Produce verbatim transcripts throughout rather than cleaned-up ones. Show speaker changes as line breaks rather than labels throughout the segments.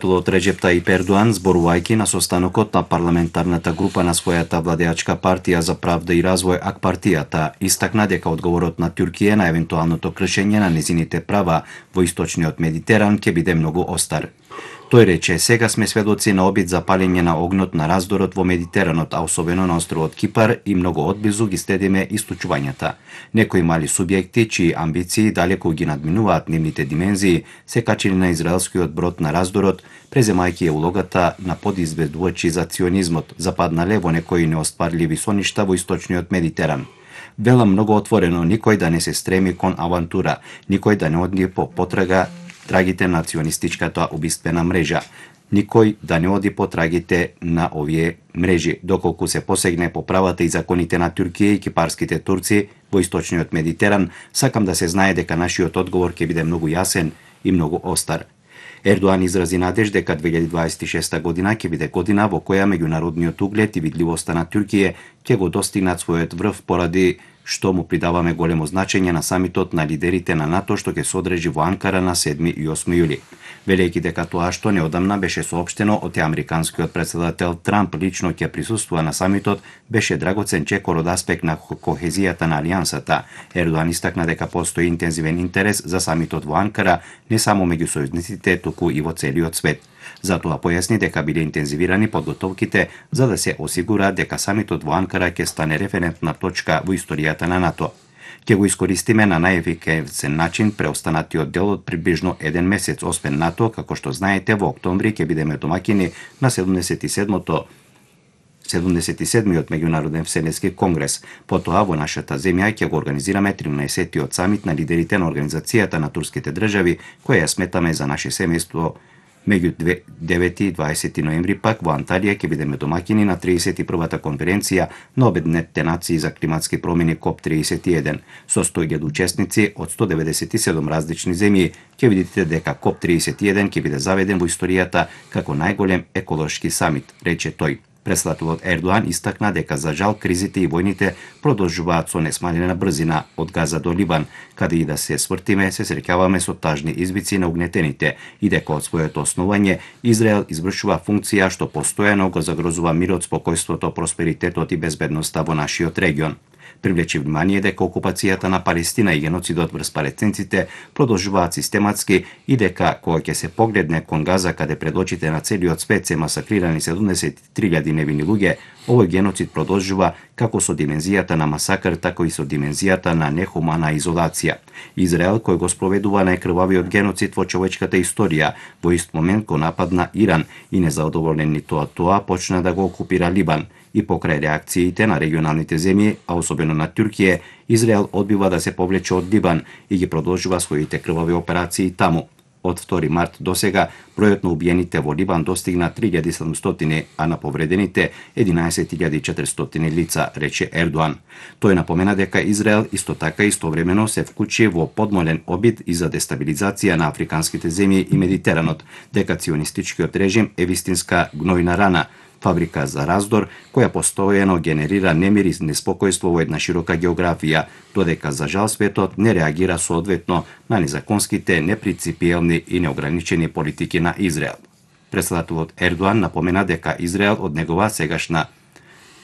Од Реџеп Тајип Ердоан, зборувајќи на состанокот на парламентарната група на својата владеачка партија за правда и развој ак партијата, истакна дека одговорот на Туркија на евентуалното кршење на незините права во источниот Медитеран ќе биде многу остар. Тој рече: сега сме сведоци на обид за палење на огнот на раздорот во Медитеранот, а особено на островот Кипар, и многу одблизу ги следиме исклучувањата. Некои мали субјекти, чии амбиции далеку ги надминуваат нивните димензии, се качили на израелскиот брод на раздорот, преземајќи ја улогата на подизведувачи за ционизмот, западнале во некои неостварливи соништа во источниот Медитеран. Вела многу отворено: никој да не се стреми кон авантура, никој да не оди по потрага трагите на ционистичката убиствена мрежа. Никој да не оди по трагите на овие мрежи, доколку се посегне по правата и законите на Туркија и кипарските турци во источниот Медитеран. Сакам да се знае дека нашиот одговор ќе биде многу јасен и многу остар. Ердоан изрази надеж дека две илјади дваесет и шеста година ќе биде година во која меѓународниот углед и видливоста на Туркија ќе го достигнат својот врв, поради што му придаваме големо значење на самитот на лидерите на НАТО што ќе се одржи во Анкара на седми и осми јули. Велејќи дека тоа што неодамна беше соопштено од американскиот претседател Трамп лично ќе присуствува на самитот, беше драгоцен чекор од аспект на кохезијата на алијансата. Ердоан истакна дека постои интензивен интерес за самитот во Анкара не само меѓу сојузниците, туку и во целиот свет. Затоа појасни дека биле интензивирани подготовките за да се осигура дека самитот во Анкара ќе стане референтна точка во историјата на НАТО. Ќе го искористиме на најефикасен начин преостанатиот дел од приближно еден месец. Освен НАТО, како што знаете, во октомври ќе бидеме домаќини на седумдесет и седмото седумдесет и седмиот меѓународен вселенски конгрес. Потоа во нашата земја ќе го организираме тринаесеттиот самит на лидерите на Организацијата на турските држави, која ја сметаме за наше семејство. Меѓу девети и дваесети ноември пак во Анталија ќе бидеме домаќини на тридесет и првата конференција на Обединетите нации за климатски промени коп тридесет и еден. Со сто илјади учесници од сто деветдесет и седум различни земји, ќе видите дека коп тридесет и еден ќе биде заведен во историјата како најголем еколошки самит, рече тој. Председателот Ердоан истакна дека за жал кризите и војните продолжуваат со несмалена брзина од Газа до Либан, каде и да се свртиме се среќаваме со тажни извици на угнетените, и дека од своето основање Израел извршува функција што постојано го загрозува мирот, спокојството, просперитетот и безбедноста во нашиот регион. Привлече внимание дека окупацијата на Палестина и геноцидот врз палестинците продолжуваат систематски и дека кога ќе се погледне кон Газа, каде пред очите на целиот свет се масакрирани седумдесет и три илјади невини луѓе, овој геноцид продолжува како со димензијата на масакр, така и со димензијата на нехумана изолација. Израел, кој го спроведува најкрвавиот геноцид во човечката историја, во ист момент го нападна Иран и незадоволен ни тоа тоа почна да го окупира Либан. И покрај реакциите на регионалните земји, а особено на Туркија, Израел одбива да се повлече од Либан и ги продолжува своите крвави операции таму. Од втори март до сега бројот на убиените во Либан достигна три илјади и седумстотини, а на повредените единаесет илјади и четиристотини лица, рече Ердоан. Тој напомена дека Израел исто така истовремено се вклучи во подмолен обид и за дестабилизација на африканските земји и Медитеранот, дека ционистичкиот режим е вистинска гнојна рана, фабрика за раздор, која постојано генерира немир и неспокојство во една широка географија, додека за жал светот не реагира соодветно на незаконските, непринципиелни и неограничени политики на Израел. Председателот Ердоан напомена дека Израел од негова сегашна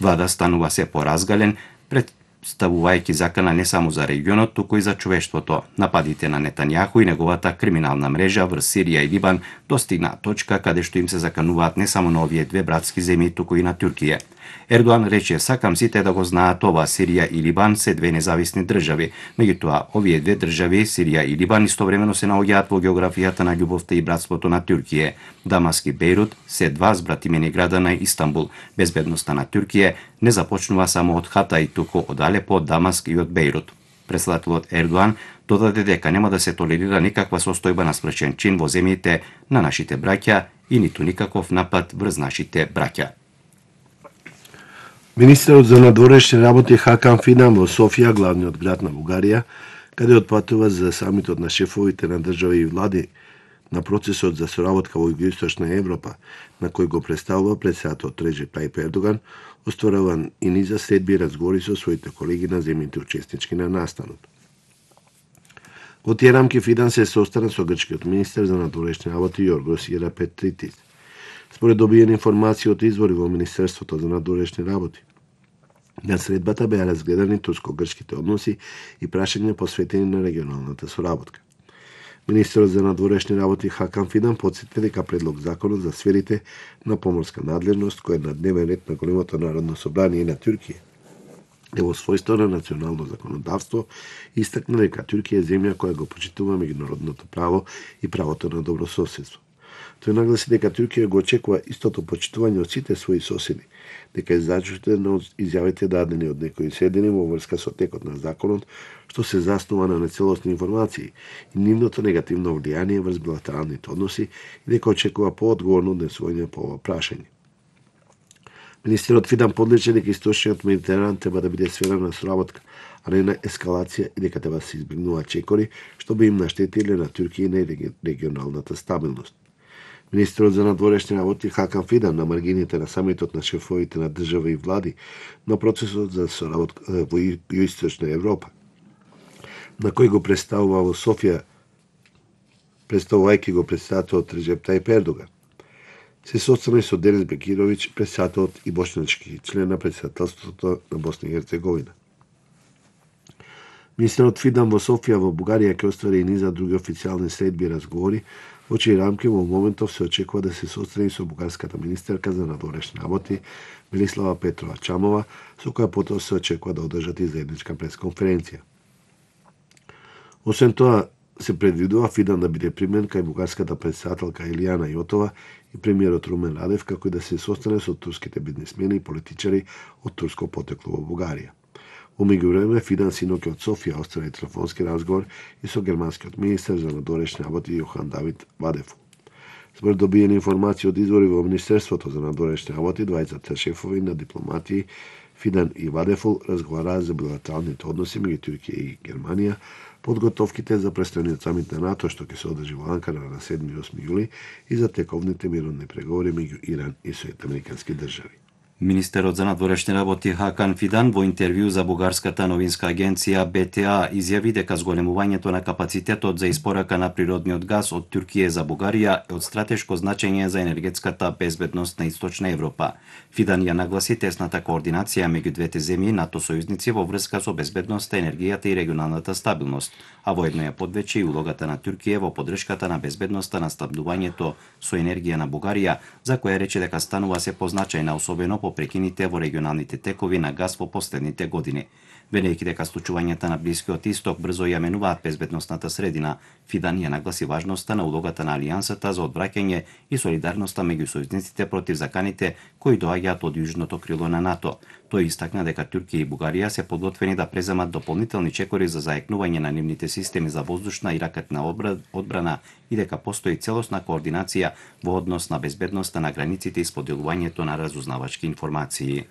влада станува се поразгален, представувајќи закана не само за регионот, туку и за човештвото. Нападите на Нетањаху и неговата криминална мрежа врз Сирија и Либан достигна точка каде што им се закануваат не само на овие две братски земји, туку и на Туркија. Ердоан рече: сакам сите да го знаат ова, Сирија и Либан се две независни држави. Меѓутоа, овие две држави, Сирија и Либан, истовремено се наоѓаат во географијата на љубовта и братството на Туркија. Дамаск и Бејрут се два збратимени града на Истанбул. Безбедноста на Туркија не започнува само од Хатај, туку од Алепо, од Дамаск и од Бејрут. Председателот Ердоан додаде дека нема да се толерира никаква состојба на спречен чин во земјите на нашите браќа и ниту никаков напад врз нашите браќа.
Министерот за надворешни работи Хакан Фидан во Софија, главниот град на Бугарија, каде отпатува за самитот на шефовите на држави и влади на процесот за соработка во Југоисточна Европа, на кој го представува председателот Реџеп Тајип Ердоган, остваруван и низа следби разговори со своите колеги на земјите учеснички на настанот. Во тие рамки Фидан се состана со грчкиот министер за надворешни работи Јоргос Иерапетритис. Според добиени информации од извори во Министерството за надворешни работи, на средбата беа разгледани турско-грчките односи и прашања посветени на регионалната соработка. Министерот за надворешни работи Хакан Фидан потсети дека предлог законот за сферите на поморска надлежност, кој е на дневен ред на големото народно собрание на Туркија, е во својство на национално законодавство, истакна дека Туркија е земја која го почитува меѓународното право и правото на добрососедство. Тој нагласи дека Туркија го очекува истото почитување од сите своји соседи, дека е зачудена од изјавите дадени од некои седени во врска со текот на законот, што се заснува на нецелосни информации и нивното негативно влијание врз билатералните односи и дека очекува поодговорно однесување по ова прашање. Министерот Фидан подлече дека источниот Медитеран треба да биде сфера на соработка, а не на ескалација и дека треба да се избегнуваат чекори, што би им наштетиле на Туркија и на регионалната стабилност. Министерот за надворешни работи Хакан Фидан на маргините на самитот на шефовите на држави и влади на процесот за соработка во Југоисточна Европа, на кој го представува во Софија, представувајќи го председателот Реджеп Тајип Ердоган, се состана со Денис Бекировиќ, председателот и бошнички член на председателството на Босна и Херцеговина. Министерот Фидан во Софија во Бугарија ќе оствари и низа други официјални средби и разговори, во чии рамки во моментов се очекува да се состани со бугарската министерка за надворешни работи Велислава Петрова Чамова, со која потоа се очекува да одржат и заедничка пресконференција. Освен тоа, се предвидува Фидан да биде примен кај бугарската председателка Илијана Јотова и премиерот Румен Радев, како и да се состане со турските бизнисмени и политичари од турско потекло во Бугарија. Во меѓувреме, Фидан синоќ од Софија оствари телефонски разговор и со германскиот министер за надворешни работи Јохан Давид Вадефул. Според добиени информации од извори во Министерството за надворешни работи, двајцата шефови на дипломатии Фидан и Вадефул разговараа за билатералните односи меѓу Туркија и Германија, подготовките за престојниот самит на НАТО што ќе се одржи во Анкара на седми и осми јули и за тековните мировни преговори меѓу Иран и Соединените американски држави.
Министерот за надворешни работи Хакан Фидан во интервју за бугарската новинска агенција Б Т А изјави дека зголемувањето на капацитетот за испорака на природниот газ од Туркија за Бугарија е од стратешко значење за енергетската безбедност на Источна Европа. Фидан ја нагласи тесната координација меѓу двете земји НАТО сојузници во врска со безбедноста, енергијата и регионалната стабилност, а воедно ја подвече и улогата на Туркија во поддршката на безбедноста на снабдувањето со енергија на Бугарија, за која рече дека станува се позначајна, особено по прекините во регионалните текови на газ во последните години. Велејќи дека случувањата на Блискиот Исток брзо ја менуваат безбедносната средина, Фидан ја нагласи важноста на улогата на Алијансата за одвраќање и солидарноста меѓу сојузниците против заканите кои доаѓаат од јужното крило на НАТО. Тој истакна дека Туркија и Бугарија се подготвени да преземат дополнителни чекори за заекнување на нивните системи за воздушна и ракетна одбрана и дека постои целосна координација во однос на безбедноста на границите и споделувањето на разузнавачки информации.